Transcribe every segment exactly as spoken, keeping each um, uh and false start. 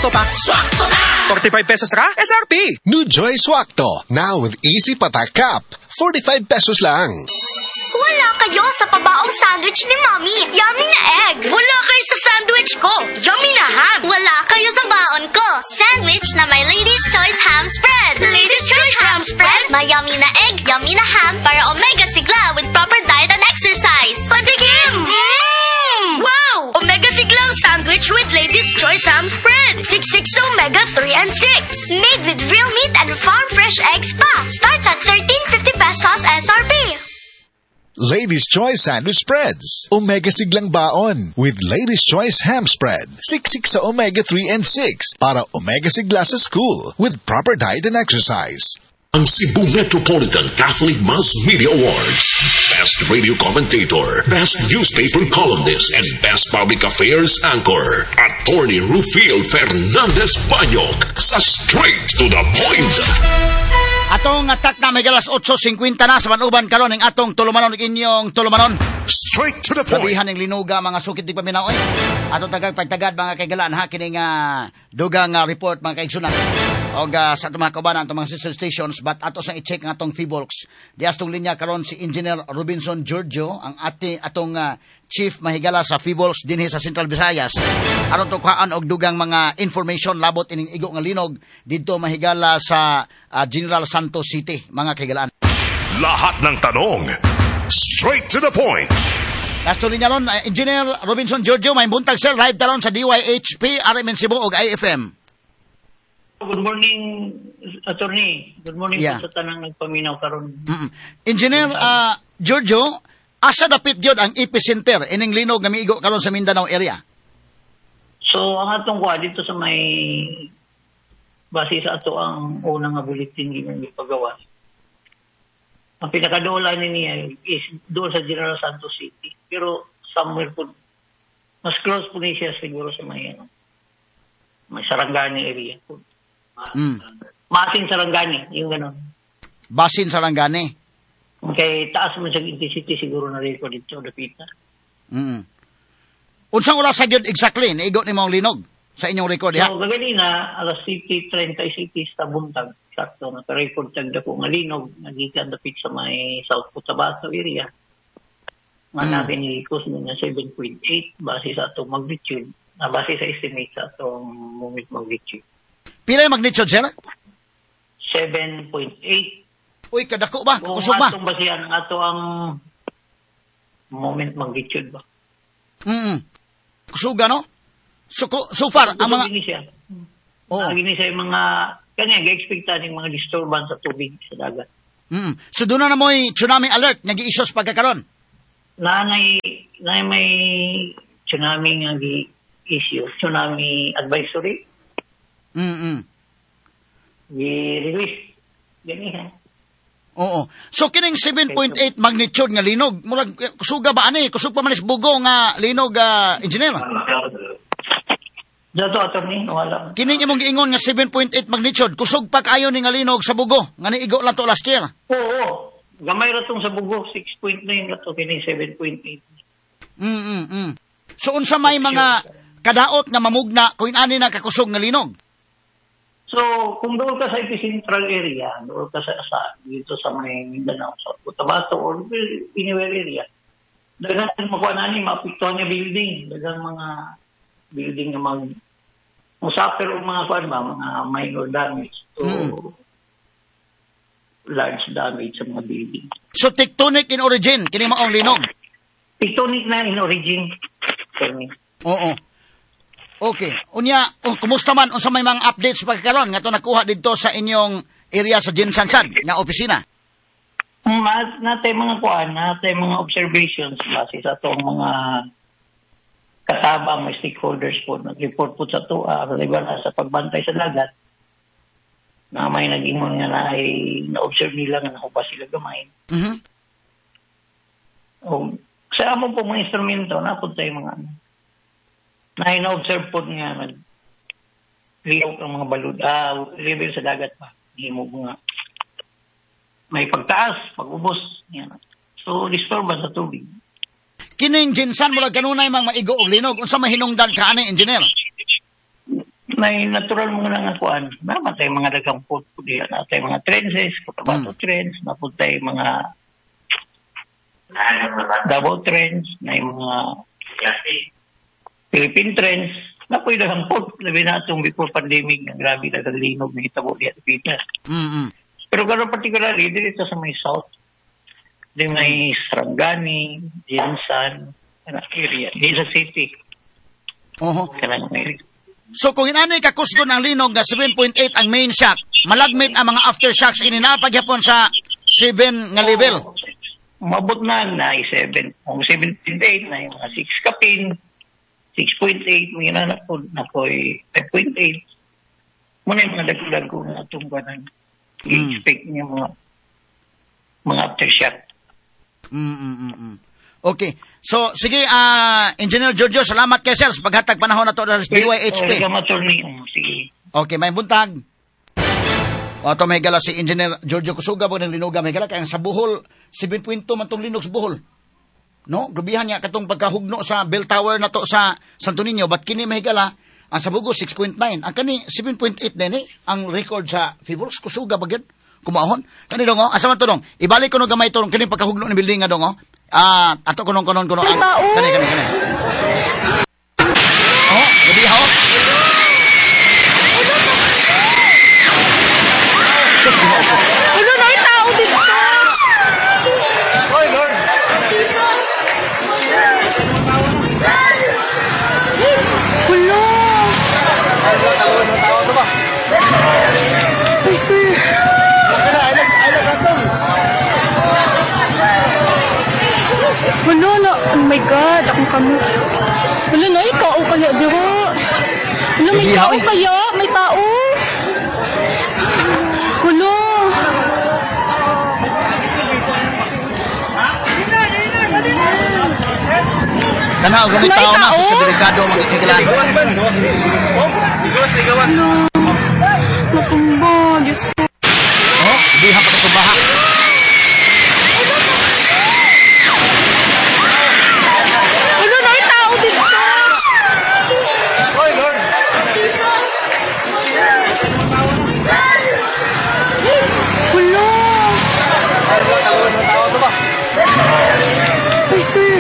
Swakto pa. Swakto na! forty-five pesos ra, S R P. New Joy Swakto, now with Easy Patak Cap. forty-five pesos lang. Wala kayo sa pabaong sandwich ni Mommy. Yummy na egg. Wala kayo sa sandwich ko. Yummy na ham. Wala kayo sa baon ko. Sandwich na may Lady's Choice Ham Spread. Lady's Choice Ham Spread? May yummy na egg, yummy na ham para omega sigla with proper diet and exercise. Patikim! Mm! Wow! Omega siglang sandwich with Lady's Choice Ham Spread. six six omega three and six. Made with real meat and farm fresh eggs pa. Starts at thirteen fifty pesos S R P. Lady's Choice Sandwich Spreads. Omega siglang baon with Lady's Choice Ham Spread. Siksik sa omega three and six para omega sigla sa school with proper diet and exercise. Ang Cebu Metropolitan Catholic Mass Media Awards. Best Radio Commentator, Best Newspaper Columnist, and Best Public Affairs Anchor. Attorney Rufil Fernandez Banyok sa Straight to the Point. Atong atak na may alas otso singkwenta na sa manuban karon ang atong tulumanon ug inyong tulumanon. Straight to the Point. Grabihan ng linuga, mga sukit di paminaw oy. Atong tagag pagtagad, mga kaigalan, ha, kining uh, dugang uh, report, mga kaigsunan. Og uh, sa atong mga kaubanan, atong mga sister stations, but ato sang i-check ang atong Phivolcs. Di astong linya karon si Engineer Robinson Giorgio, ang ati atong uh, chief mahigala sa Phivolcs dinhi sa Central Visayas. Aron tukaan og dugang mga information labot ining igo nga linog didto mahigala sa uh, General Santos City, mga kaigalaan. Lahat ng tanong. Straight to the Point. Nasto linya ron, uh, Engineer Robinson Giorgio, may buntag, sir, live taron sa D Y H P, R M N Cebu ug I F M. Good morning, Attorney. Good morning Yeah. po sa tanang nagpaminaw karon. Mm-mm. Engineer uh, Giorgio, asa dapit gyud ang epicenter ining linog nga miigo karon sa Mindanao area? So, ang atong kuha dito sa may base sa ato ang unang nga bulletin ginang gipagawas. Ang pinakadola ni niya is doon sa General Santos City. Pero somewhere po, mas close po ni siya siguro sa may, ano, may Sarangani area po. Mm. Maasin Sarangani, yung gano'n. Basin Sarangani. Kay taas mo sa intensity siguro na record dito, dapita. Mm. Unsang oras sa gyud exactly niigo ni mong linog sa inyong record diha? So, kaganina, alas siyete trenta y sais sa buntag, sakto, naka-record tag dako nga linog, nagikan dapit sa may South Cotabato area. Nga Mm. natin i-cause nga seven point eight base sa atong magnitude, na base sa estimate sa atong moment magnitude. Pila yung magnitude, sir? seven point eight. Uy, kadako ba? Kung Kusog ba? atong basihan ang ato ang moment magnitude ba? Mm. Kusuga, no? So, ko- so far, ang mga Kusog gini siya. Oo. Ang gini siya yung mga, kanya, ga-expect yung mga disturbance sa tubig sa dagat. Mm. So doon na mo'y tsunami alert nga gi-issues pagkakaron. Naanay na may tsunami nga gi issue, tsunami advisory Mm. gi-release. Gani ha. Oo. So kining seven point eight magnitude nga linog, murag eh, kusuga ba ani? Kusog pa man is Bogo nga linog, ah, engineer? Dato, Attorney, wala. Kining imong giingon nga seven point eight magnitude, kusog pa kaayo ni nga linog sa Bogo nga niigo lang to last year. Oo, oo. Gamay ra tong sa Bogo, six point nine ra to, kini seven point eight. Mm, mm, mm. So unsa may mga kadaot nga mamugna kung ani na kakusog nga linog? So, kung doon ka sa epicentral area, doon ka sa, sa dito sa may Mindanao, sa Cotabato or anywhere area, daghan makuha na ni maapektuhan niya building, daghang mga building nga mag musuffer og mga kuan ba, mga minor damage to Mm. large damage sa mga building. So tectonic in origin kini maong linog? Tectonic na in origin. Attorney. Oo. Okay. Unya, oh, kumusta man, unsa may mga updates pagkaron nga to nakuha didto sa inyong area sa GenSan sad nga opisina? Ma natay mga kuan, natay mga observations base sa atong mga katabang, may stakeholders po nag-report po sa ato uh, na sa pagbantay sa dagat na may nag-ingon nga na ay na-observe nila nga nahupa sila gamay. Mhm. O, sa among po mga instrumento, napod tayo mga ano, na na-observe po nga nag liyok ang mga balud, ah, level sa dagat pa. Himo nga may pagtaas, pag-ubos. Yan. So, disturbance sa tubig. Kining GenSan murag kanunay mang maigo og linog. Unsa may hinungdan ka ani, engineer? May natural mga nga kuan. Namatay mga daghang put diya, natay mga trenches, Cotabato mm. Trench, napuntay mga Davao Trench, na mga Philippine Trench, napoy daghang put. Labi na itong before pandemic, nga grabe daghang linog na hitabo diya sa Pilipinas. Mm-hmm. Pero gano'n particularly, dito sa may south, di may Sarangani, Jinsan, area, di sa city. Oho. Kanang area. So kung inani kakusgon ang linog nga seven point eight ang main shock, malagmit ang mga aftershocks ininapagyapon sa seven nga level. Oh, mabot na na seven. Kung seven point eight na yung mga six kapin, six point eight, may nanak po na po'y five point eight. Muna yung mga dagdag ko na itong ganang i-expect niya mga mga aftershock. Mm, mm, mm, mm. Okay. So, sige, uh, Engineer Giorgio, salamat kay sir sa paghatag panahon na to sa D Y H P. Sige. Okay, may buntag. O, ito may gala si Engineer Giorgio Kusuga, pag naglinuga, may gala, kaya sa Bohol, seven point two man itong linog sa Bohol. No? Grabihan niya katong pagkahugno sa Bell Tower na to sa Santo Niño, but kini may gala, ang sa Bugo, six point nine. Ang kani, seven point eight din eh, ang record sa Phivolcs, Kusuga, bagyan. Kumaon. Kani dong, oh, asa man to dong? Ibalik ko no gamay to, kini pagkahugno ni building nga dong, oh. Ah, ato kunon kunon kuno. May tao. Kani kani kani. Oh, gabi ha. Sus, Ginoo ko. Wala na tao dito. Oy, Lord. Jesus. Wala. Ay, sir. Wala na. Oh my God, akong kamot. Wala na, ikaw kaya dira. Wala, may tao kaya? May tao? Wala. Kana, og may tao na sa kadelikado mga kailan. Wala. Natumba, Diyos ko. Oh, diha pa katumbaha. Wala na yung tao dito. Oy, Lord. Jesus. Wala. Ay, sir.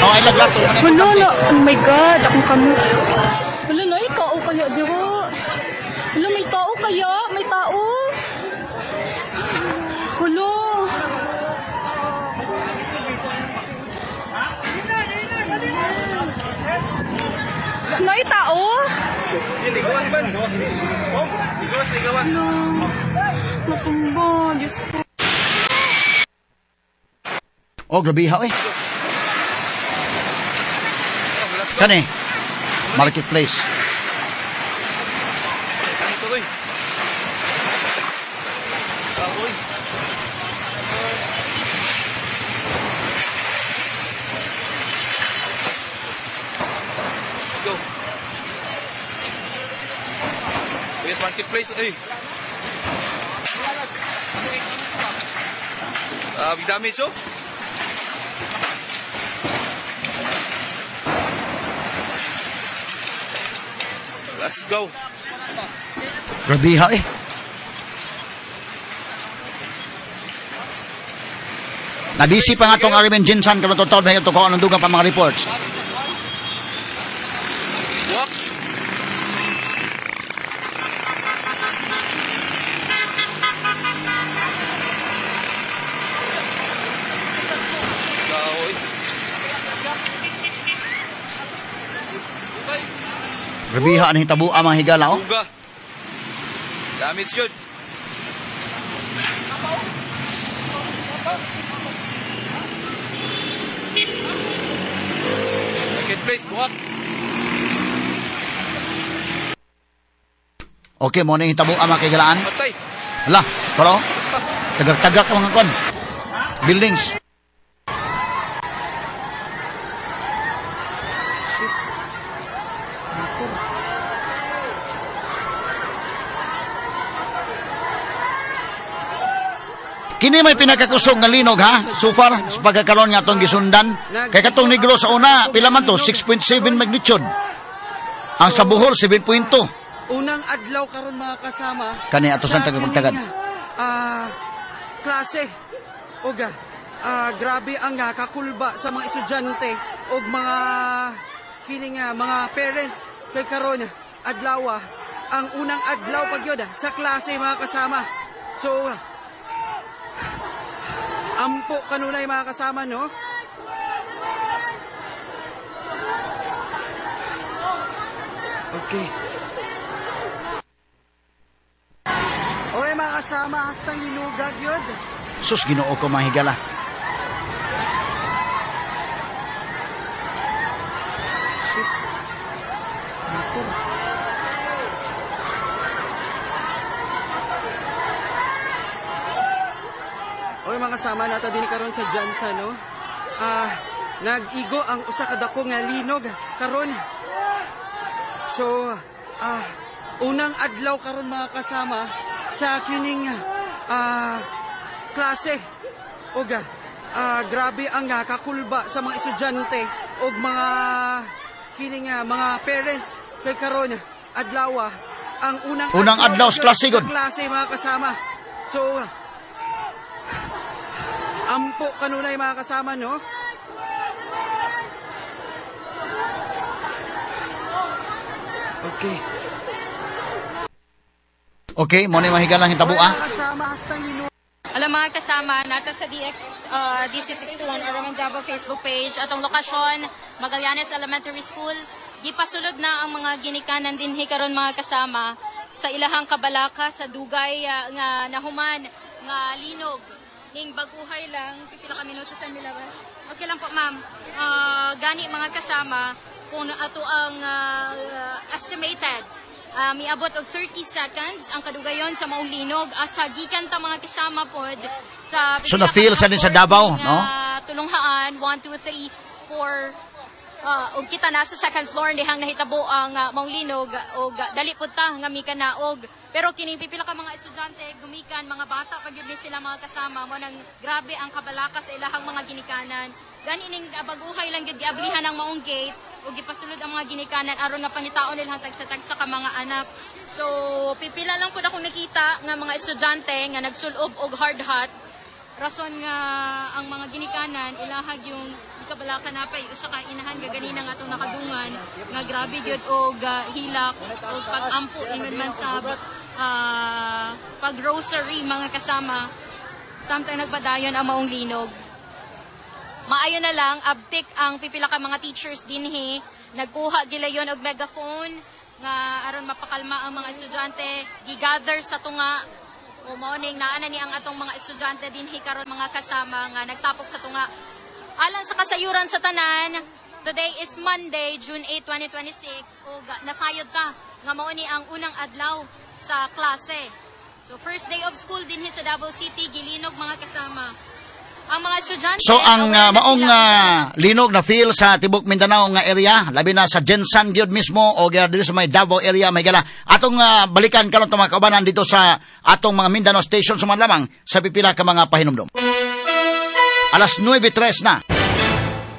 Oh, ay laglato. Wala na. Oh my God, akong kamot. Wala na, ikaw kaya dira. Wala, may tao kaya? May tao? Wala. Nay, tao? Wala. Natumba, Diyos ko. Oh, grabe ha, eh. Kani, marketplace. Let's go. Yes, marketplace. Ay. Uh, big damage, oh. Let's go. Grabe ha, eh. Nabisi pa nga itong Arimen Jinsan karon totoo may ito ko anong dugang pa mga reports. Walk. Grabe ha, ang hitabo ang mga higala, oh. Uga. Damage yun. Marketplace, buwak. Okay, mo na yung hitabo ang mga kahigalaan. Patay. Hala, pero, tagag-tagak ang mga kwan. Buildings. Kini may pinakakusog nga linog ha, so far, sa pagkakaroon nga atong gisundan. Kay katong Negros sa una, pila man to, six point seven magnitude. Ang sa Bohol, seven point two. Unang adlaw karon mga kasama. Kani ato sa tagapagtagad. Ah, uh, klase. Oga, uh, grabe ang uh, kakulba sa mga estudyante og mga kini nga mga parents kay karon adlaw ang unang adlaw pag yun sa klase mga kasama. So ampo kanunay mga kasama, no? Okay. Okay mga kasama, hastang linugag yun. Sus, Ginoo ko mga higala. Shit. Motor. Oy mga kasama, nata din karon sa Jansa, no? Ah, nag-igo ang usa ka dako nga linog karon. So, ah, unang adlaw karon mga kasama sa kining ah, klase. Oga, ah, grabe ang uh, kakulba sa mga estudyante og mga kining uh, mga parents kay karon adlaw ang unang unang adlaw, adlaw sa klase, sa klase mga kasama. So, ampo kanunay mga kasama, no? Okay. Okay, mo ni mahigalang hitabo ah. Alam mga kasama, nata sa D X, uh, D C sixty-one Aroman Davao Facebook page atong lokasyon, Magallanes Elementary School. Gipasulod na ang mga ginikanan dinhi karon mga kasama sa ilahang kabalaka sa dugay uh, nga nahuman nga linog. Ning baguhay lang, pipila ka minuto sa nilabas. Okay lang po, ma'am. Uh, gani mga kasama, kung ato ang uh, estimated, uh, miabot og thirty seconds ang kadugayon sa maong linog. Asa gikan ta mga kasama pod sa so na-feel sa din sa Davao, no? Tulunghaan, one, two, three, four, Uh, og kita nasa second floor dihang nahitabo ang uh, maong linog og uh, dali pud ta nga mikanaog. Pero kining pipila ka mga estudyante gumikan, mga bata pag yun sila mga kasama mo nang grabe ang kabalaka sa ilahang mga ginikanan. Gani ning baguhay lang gyud giablihan ang maong gate ug gipasulod ang mga ginikanan aron nga pangitaon nilang tagsa-tagsa ka mga anak. So pipila lang pud akong nakita nga mga estudyante nga nagsulob og hard hat. Rason nga ang mga ginikanan ilahag yung ikabalaka na pa usa ka inahan nga ganina nga atong nakadungan nga grabe gyud og uh, hilak og pag-ampo ingon man sa uh, pag-rosary mga kasama samtang nagpadayon ang maong linog. Maayo na lang abtik ang pipila ka mga teachers dinhi nagkuha gilayon og megaphone nga aron mapakalma ang mga estudyante, gigather sa tunga. O morning, naa na ni ang atong mga estudyante dinhi karon mga kasama nga nagtapok sa tunga. Alang sa kasayuran sa tanan, today is Monday, June eighth, twenty twenty-six, ug nasayod ta nga mao ni ang unang adlaw sa klase. So first day of school dinhi sa Davao City, gilinog mga kasama. Ang mga estudyante. So ang uh, maong uh, linog na feel sa tibok Mindanao nga area, labi na sa Jensan gyud mismo o diri sa may Davao area may gala. Atong uh, balikan karon mga kaubanan dito sa atong mga Mindanao station suman lamang sa pipila ka mga pahinumdom. Alas nuwebe tres na.